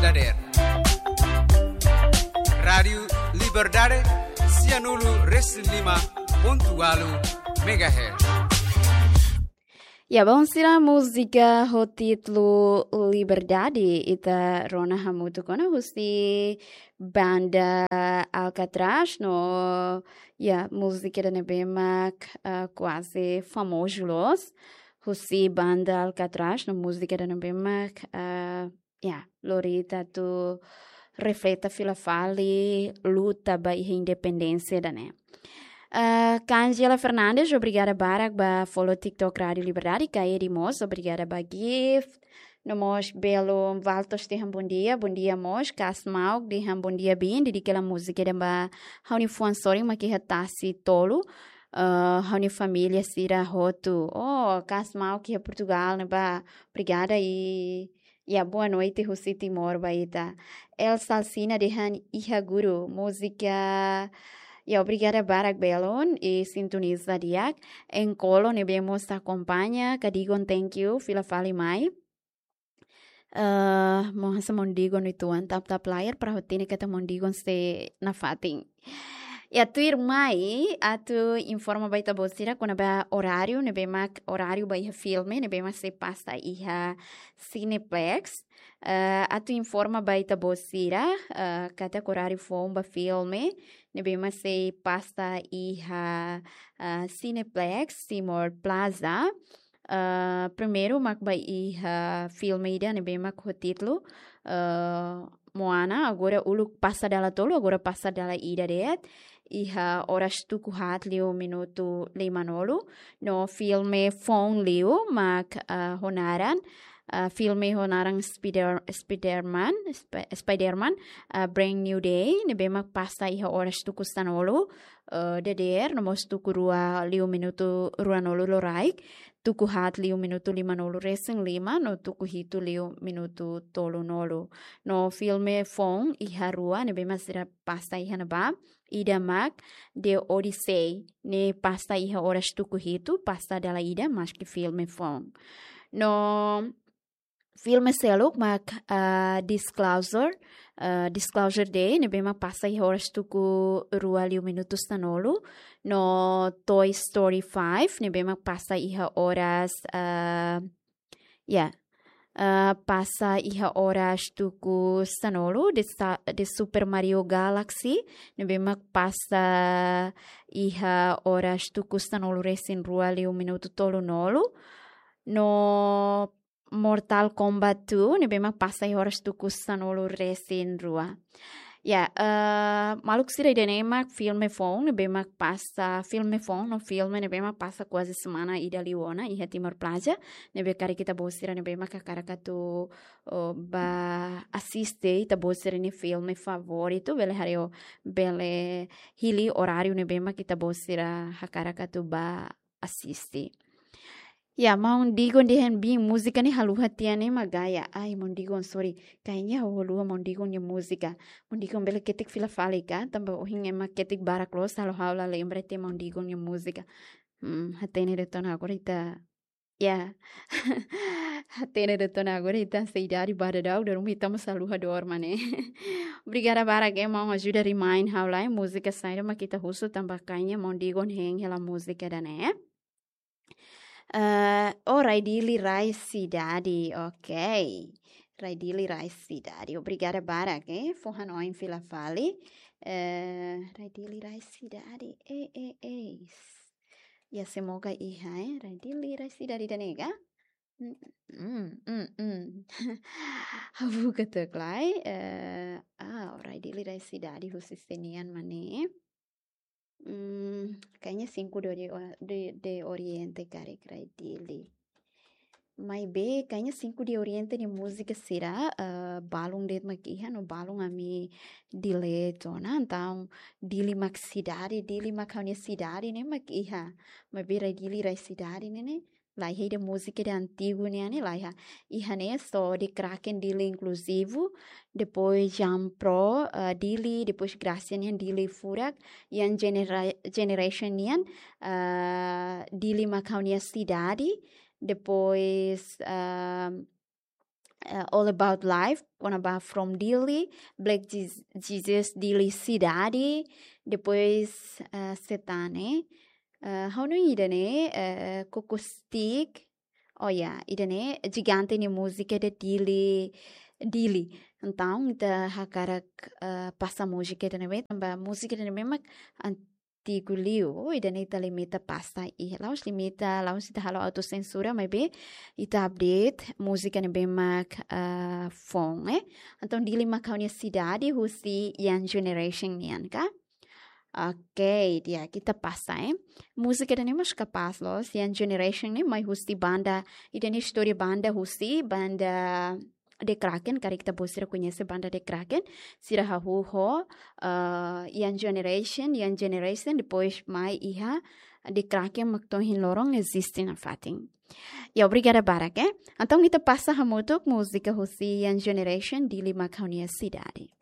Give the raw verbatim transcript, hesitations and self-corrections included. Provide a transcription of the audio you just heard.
Dader. Rádiu Liberdade, sianulu resin lima pontu ualu megahertz. Ya, bom, sira múzika ho títulu Liberdade, ita rona hamutuk ona husi banda Alcatraz, no, ya, múzika ida ne'ebé mak, ah, kuaze famozu loos, husi banda Alcatraz, no múzika ida ne'ebé mak, ah, ya, lori ita atu refleta fila fali luta ba iha independénsia ida-ne'e. Ah, Kangela Fernandes, obrigada barak ba follow TikTok Rádiu Liberdade, Kaedi mós, obrigada ba gift. No mós belo Valtos dehan bom dia, bom dia mós, Kasmauk dehan bom dia bin, dedika hela múzika ida ba ha'u-nia fuan sorin mak iha tasi tolu, ah, ha'u-nia família sira hotu. Oh, Kasmauk iha Portugal ne'ebá, obrigada i ya, boa noite husi Timor ba ita. El Salsina dehan iha guru, múzika. Ya, obrigada barak belun i sintoniza di'ak. Enkolo ne'ebé mós akompaña, Kadigon, thank you, fila fali mai. Eh, mohon sa Mondigon uitoan tap-tap layar para hatene katak Mondigon sei nafatin. Ya, tuirmai atu informa ba ita-boot sira kona-ba oráriu ne'ebé mak, oráriu ba iha filme ne'ebé mak sei pasa iha Cineplex. Eh, atu informa ba ita-boot sira, eh, katak oráriu foun ba filme ne'ebé mak sei pasa iha, eh, Cineplex Timor Plaza. Eh, primeiru mak ba iha filme ida ne'ebé mak ho títulu, eh, Moana, agora uluk pasa dala tolu, agora pasa dala ida de'it. Iha oras tuku haat liu minutu limanulu. No filme foun liu mak, eh, ho naran, eh, filme ho naran Spider-, Spider-Man, Sp-, Spider-Man, eh, Brand New Day, ne'ebé mak pasa iha oras tuku sanulu, eh, dadeer, no mós tuku rua liu minutu ruanulu loraik, tuku haat liu minutu limanulu resin lima, no tuku hitu liu minutu tolunulu. No filme foun iha rua ne'ebé mak sira pasa iha ne'ebá, ida mak The Odyssey, ne'e pasa iha oras tuku hitu, pasa dala ida, maski filme foun. No filme seluk mak, ah, Disclosure, ah, Disclosure Day, ne'ebé mak pasa iha oras tuku rua liu minutu sanulu, no Toy Story five, ne'ebé mak pasa iha oras, ah, ya, ah, pasa iha oras tuku sanulu, The Sa-, The Super Mario Galaxy, ne'ebé mak pasa iha oras tuku sanulu resin rua liu minutu tolunulu, no Mortal Kombat two, ne'ebé mak pasa iha oras tuku sanulu resin rua. Ya, eh, maluk sira, ida-ne'e mak filme foun, ne'ebé mak pasa, filme foun, no filme ne'ebé mak pasa kuaze semana ida liu ona iha Timor Plaza, ne'ebé karik ita-boot sira ne'ebé mak hakarak atu, oh, ba asiste ita-boot sira-nia filme favoritu, bele haree, bele hili oráriu ne'ebé mak ita-boot sira hakarak atu ba asiste. Ya, Maun Digon dehan bin múzika ne'e haluha tiha ne'e mak gaya. Ai, Maun Digon, sorry. Kayaknya ha'u haluha Maun Digon nia múzika. Maun Digon bele ketik fila fali ka, tanba ohin ema ketik barak loos, halo ha'u la lembra tiha Maun Digon nia múzika. Hmm, hatene de'it ona agora ita. Ya. Hatene de'it ona agora ita sei idade ba daudaun, dala ruma ita mós haluha dorma ne'e. Obrigada barak, eh, maun ajuda remind ha'u lai múzika saida mak ita husu, tanba kayaknya Maun Digon hein hela múzika ida-ne'e. Eh, oh, Rai Dili Rai Sidade, ok. Rai Dili Rai Sidade. Obrigada barak, eh. Fó hanoin fila fali. Eh, Rai Dili Rai Sidade. Eh, eh, eh. Ya, semoga iha, eh. Rai Dili Rai Sidade ida-ne'e ka? Mm, mm, mm, mm. Habu ketuk lai, eh, ah, Rai Dili Rai Sidade husi sé nian mak ne'e. Hmm, kayaknya Cinco de Ori-, de, de Oriente karik Rai Dili. Maibé, kayaknya Cinco de Oriente nia múzika sira, eh, balun de'it mak iha, no balun ami delete ona, entaun Dili mak sidade, Dili mak ha'u-nia sidade ne'e mak iha. Maibé Rai Dili Rai Sidade ne'e ne'e, laiha, ida múzika ida antigu nian ne'e laiha. Iha ne'e só The Kraken Dili inkluzivu, depois Jean Pro, eh, Dili, depois Gracia nian Dili furak, Young Genera-, Generation nian, eh, Dili mak ha'u-nia sidade, depois, eh, eh, All About Life, kona-ba From Dili, Black Jez-, Jesus Dili Sidade, depois, eh, Setane, eh, ha'u hanoin ida-ne'e, eh, Coco Stick, oh ya, ida-ne'e Jigante nia múzika de Dili, Dili. Entaun, ita hakarak, eh, pasa múzika ida-ne'e, tanba múzika ida-ne'e mak antigu liu, ida-ne'e ita limita pasa iha, la'ós limita, la'ós ita halo autosensura, maibé ita update múzika ne'ebé mak, eh, foun, eh. Entaun, Dili mak ha'u-nia sidade husi Young Generation nian, ka? Oke, di'ak, ita pasa, eh. Múzika ida-ne'e mós kapás loos, Young Generation ne'e mai husi banda, ida-ne'e istória banda husi, banda The Kraken, karik ita-boot sira koñese banda The Kraken, sira hahú ho, eh, Young Generation, Young Generation, depois mai iha The Kraken mak to'o ohin loron eziste nafatin. Ya, obrigada barak, eh. Entaun, ita pasa hamutuk múzika husi Young Generation, Dili mak ha'u-nia sidade.